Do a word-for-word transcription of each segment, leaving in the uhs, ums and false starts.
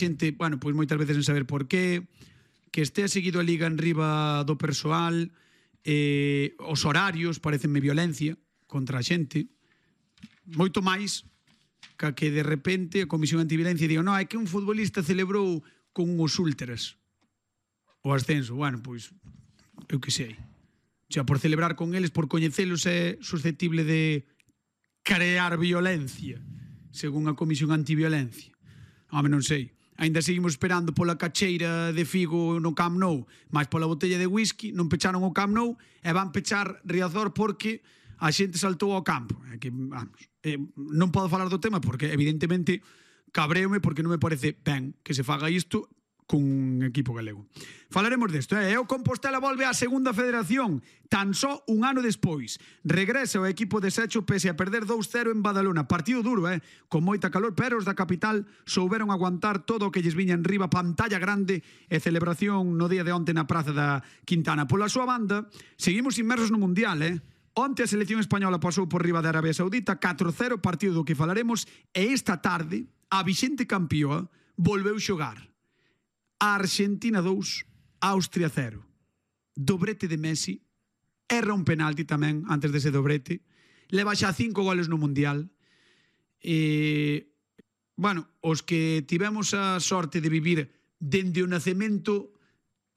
xente, bueno, pois moitas veces en saber por qué, que estea seguido a liga en riba do persoal, eh, os horarios parecenme violencia contra a xente, moito máis que que de repente a Comisión Antiviolencia diga, non, é que un futbolista celebrou con uns últras o ascenso. Bueno, pois, eu que sei. O sea, por celebrar con eles, por coñecelos, é susceptible de crear violencia, según a Comisión Antiviolencia. Home, non sei. Ainda seguimos esperando pola cacheira de Figo no Camp Nou, máis pola botella de whisky, non pecharon o Camp Nou e van pechar Riazor porque a xente saltou ao campo. É que, vamos, eh, non podo falar do tema porque, evidentemente, cabreome porque non me parece ben que se faga isto con un equipo galego. Falaremos desto, eh? O Compostela volve á segunda federación tan só un ano despois. Regresa o equipo de Secho pese a perder dous cero en Badalona. Partido duro, eh? Con moita calor, pero os da capital souberon aguantar todo o que lles viña en riba, pantalla grande e celebración no día de onte na Praza da Quintana. Pola súa banda, seguimos inmersos no Mundial, eh? Onte a selección española pasou por riba de Arabia Saudita, catro cero, partido do que falaremos, e esta tarde a vixente campeoa volveu xogar. A Argentina dous, Austria cero. Dobrete de Messi, erra un penalti tamén antes dese dobrete, leva xa cinco goles no Mundial. E, bueno, os que tivemos a sorte de vivir dende o nacemento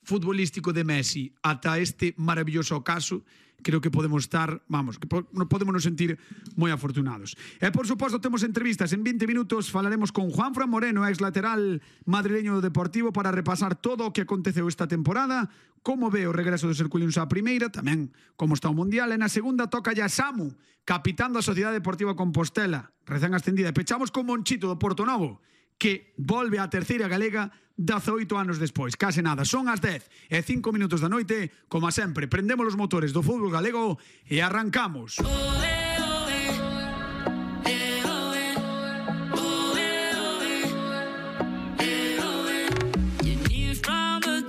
futbolístico de Messi ata este maravilloso caso, creo que podemos estar, vamos, que podemos nos sentir moi afortunados. E, por suposto, temos entrevistas. En vinte minutos falaremos con Juanfran Moreno, ex lateral madrileño do Deportivo, para repasar todo o que aconteceu esta temporada, como ve o regreso dos Herculinos á primeira, tamén como está o Mundial. E na segunda toca ya Samu, capitán da Sociedade Deportiva Compostela, recén ascendida. E pechamos con Monchito do Porto Novo, que volve á terceira galega dezaoito anos despois. Case nada, son as dez e cinco minutos da noite. Como sempre, prendemos os motores do fútbol galego e arrancamos.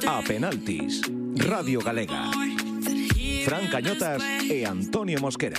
A penaltis, Radio Galega. Fran Cañotas e Antonio Mosquera.